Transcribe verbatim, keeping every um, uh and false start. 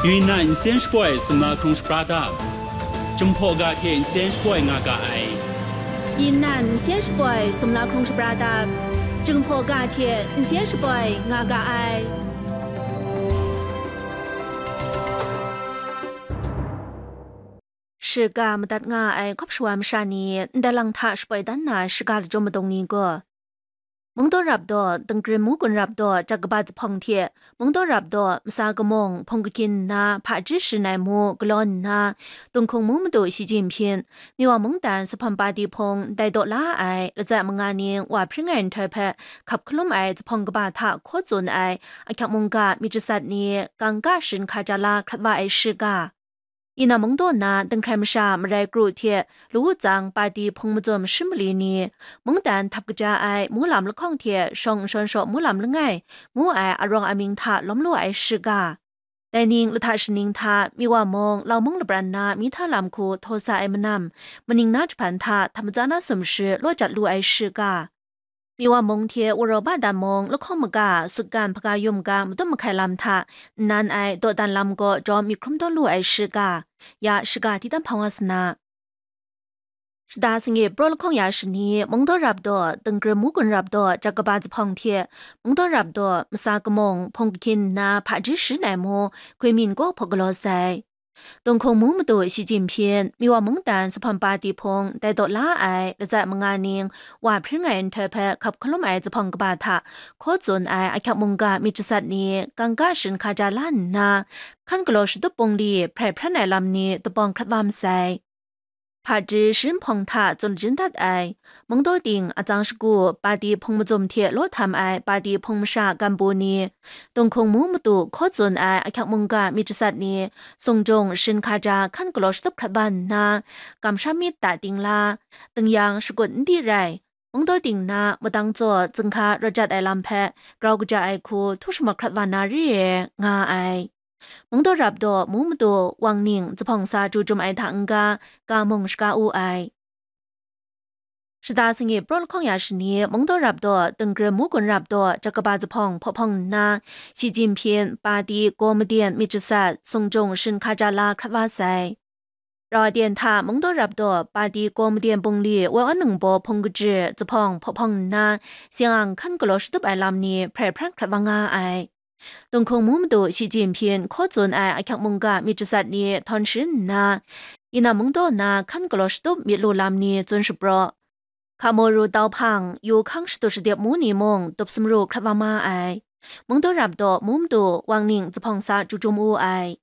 Yunnan nsen shapoi sumla hkrung shapra dap, Jinghpaw ga hte nsen shapoi nga ga ai. Yunnan nsen shapoi sumla hkrung shapra dap, Jinghpaw ga hte nsen shapoi nga ga ai. Shiga madat nga ai hkawp shawa masha ni ndai lang hta shapoi dan na shiga lachyum madung ni gaw, Mungdaw rap daw, Dingrim Mugun rap daw, Jat kaba Zuphpawng hte Mungdaw rap daw, Masa Kamung, Hpung Kahkyin nna hpaji sharin ai mu galaw nna, Dinghkung mu madu Shi Jinpyin, Miwa mungdan Supham Pati Hpung dai daw la ai latsat manga ning wa hpring ai nhtoi hpe hkap hkalum ai Zuphpawng kaba hta hkaw tsun ai ahkyak mungga myit jasat ni kangka sharin hkaja la hkrat wa ai shiga, Yunnan mungdaw na Dinghkrai masha marai kru hte Lawu Tsang Pati Hpung mazum shi mali ni, mungdan htap kaja ai mulam lahkawng hte shawng nshawn shaw mulam langai ngu ai arawng amying hta lawm lu ai shiga, dai ning lahta shaning hta Miwa mung Lau mung lapran na mi hta lam hku htaw sa ai manam, maning na jahpan hta htam matsa na sumshi law jat lu ai shiga, Miwa mung hte Waraw ba dan mung lahkawng maga sutgan hpaga yum ga madum mahkai lam hta nnan ai dawdan lam gaw jawm myit hkrum tawn lu ai shiga, ya shiga di dan hpang wa sa na. Shada sangi praw lahkawng ya shani, Mungdaw rap daw, Dingrim Mugun rap daw, Jat kaba Zuphpawng hte Mungdaw rap daw, Masa Kamung, Hpung Kahkyin nna hpaji sharin ai mu Hkui Min kaw hpaw galaw sai. Dinghkung mu madu Shi Jinpyin, Miwa mungdan Supham Pati Hpung dai daw la ai latsat manga ning wa hpring ai nhtoi hpe hkap hkalum ai Zuphpawng kaba hta hkaw tsun ai ahkyak mungga myit jasat ni kangka sharin hkaja la nna, hkan galaw shatup bungli hprai hpran ai lam ni dubawng hkrat wa masai. Hpaji sharin hpawng hta tsun lajin dat ai, Mungdaw ting atsang shagu Pati Hpung mazum hte law htam ai Pati Hpung masha gambu ni, Dinghkung mu madu hkaw tsun ai ahkyak mungga myit jasat ni, sung jung sharin hkaja hkan galaw shatup hkrat wa nna, kamsham myit ta ting la, dingyang shakut n di rai, Mungdaw ting na mudang tsaw zinghka rawt jat ai lam hpe grau kaja ai hku htu shamak hkrat wa na re ai, nga ai. Mungdaw rap daw mu madu Wang Ning Zuphpawng sa chyu chyum ai hta n-ga, ga mung shaga u ai. Shada sangi praw lahkawng ya shani, Mungdaw rap daw, Dingrim Mugun rap daw, Jat kaba Zuphpawng hpaw hpawng nna, Shi Jinpyin, Pati, Gaw Maden myit jasat, sung jung sharin hkaja la hkrat wa sai. Rau aten hta Mungdaw rap daw, Pati Gaw Maden bungli Woi Awn Ningbaw hpung kaji Zuphpawng hpaw hpawng nna, Siang Ang hkan galaw shatup ai lam ni hprai hpran hkrat wa nga ai. Dinghkung mu madu Shi Jinpyin hkaw tsun ai ahkyak mungga myit jasat ni htawn sharin nna, Yunnan mungdaw na hkan galaw shatup myit lu lam ni tsun shapraw, Hkamoru Tau Hpang, Yu Hkang shatup shadip mu ni mung tup sumru hkrat wa ma ai. Mungdaw rap daw mu madu Wang Ning Zuphpawng sa chyu chyum u ai.